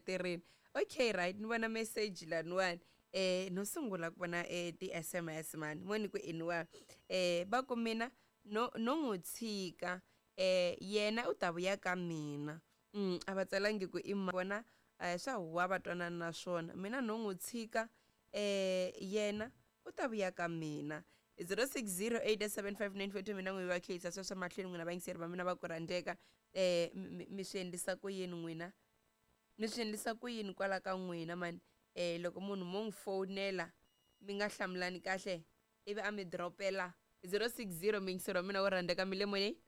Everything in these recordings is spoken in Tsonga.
Tirhini. Okay, right, ni vona message laniwani. No sungula ku vona ti-SMS mani, mo ni ku iniwa. Va ku mina no no n'wi tshika yena u ta vuya ka mina. A va tsalangi ku i vona swa huwa va twanana na swona. Mina no n'wi tshika yena u ta vuya ka mina. 06087594 mina n'wi va khensa sweswo mahlweni n'wina vayingiseri va mina va ku rhandzeka. Mi swi endlisa ku yini n'wina? Mi swi endlisa ku yini kwala ka n'wina mani? Loko munhu mo n'wi fowunela mi nga hlamulani kahle ivi a mi dropela 060 muyingiseri wa mina wo rhandzeka mi le moyeni?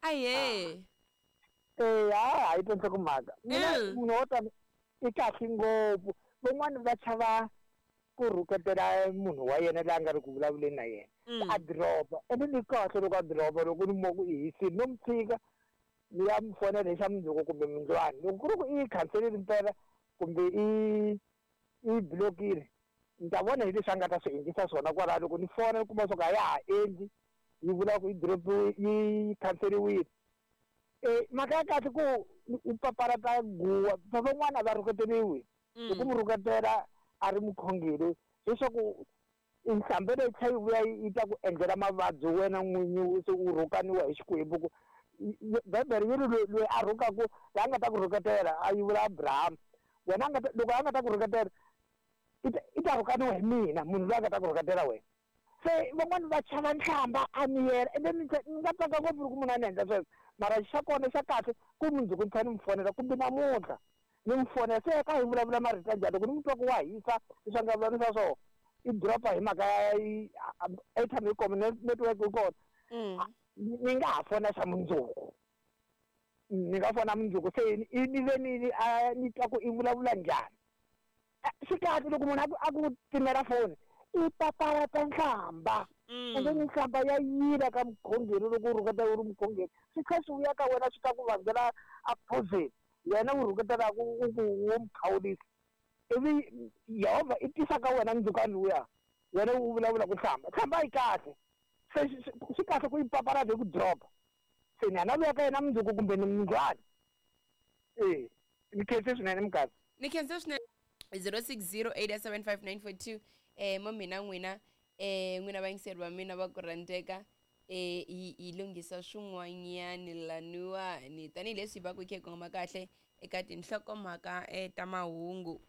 Ahee. Eya, ha yi twa nhlokomhaka. Mina munhu wo tani i kahle ngopfu. Van'wani va chava ku rhuketela munhu wa yena loyi a nga ri ku vulavuleni na yena. A drop-a. Ene ni kahle loko a drop-a loko ni mo ku i hisile no n'wi tshika ni ya n'wi fonela hi xa mundzuku kumbe mundlwana. Loko ku ri ku i yi khanserile mpela kumbe i i block-ile ni ta vona hi leswi a nga ta swi endlisa swona kwalano. Loko ni fona ni kuma swa ku a ya ha endli yi vula ku yi drop-iwe yi khanseriwile. Mhaka ya kahle ku u papalata guwa van'wana a va rhuketeriwi. Loko mu rhuketela a ri mukhongeri leswaku nhlambhe leyi tlhela yi vuya yi ta ku endlela mavabyi wena n'winyi se u rhukaniwa hi Xikwembu ku Bibele yi ri loyi a rhukaku la nga ta ku rhuketela a yi vula Abraham wena a nga ta loko a nga ta ku rhuketela i ta rhukaniwa hi mina munhu loyi a nga ta ku rhuketela wena. Se van'wani va chava nhlamba a miyela ende ni ni nga tsaka ngopfu loko munhu a ni endla sweswo mara xa kona xa kahle ku mundzuku ni tlhela ni n'wi fonela kumbe namuntlha ni n'wi fonela se ka hi vulavula marito ya njhani loko ni n'wi twa ku wa hisa leswi a nga vulavurisa swona i drop-a hi mhaka ya airtime yi kona network yi kona ni nga ha fona xa mundzuku ni nga fona mundzuku se ni ve ni a ni twa ku i vulavula njhani. Swi kahle loko munhu a ku a ku timela foni i papalata nhlamba ende ni nhlamba ya yila ka mukhongeri loko u rhuketela u ri mukhongeri swi tlhela swi vuya ka wena swi ta ku vangela a poison wena u rhuketelaka u ku wo mu khawulisa ivi Yehovha i tisa ka wena ndzhukano luya wena u vulavula ku nhlamba nhlamba a yi kahle se swi kahle ku yi papalata hi ku drop-a se ni ya na vuya ka yena mundzuku kumbe ni mundlwana e ni khense swinene mukadzi. Ni khense swinene 06087594 mo mina n'wina n'wina vayingiseri va mina va ku rhandzeka hi hi lunghisa swin'wanyani laniwani tanihileswi hi va ku hi kha hi kongoma kahle eka tinhlokomhaka ta mahungu.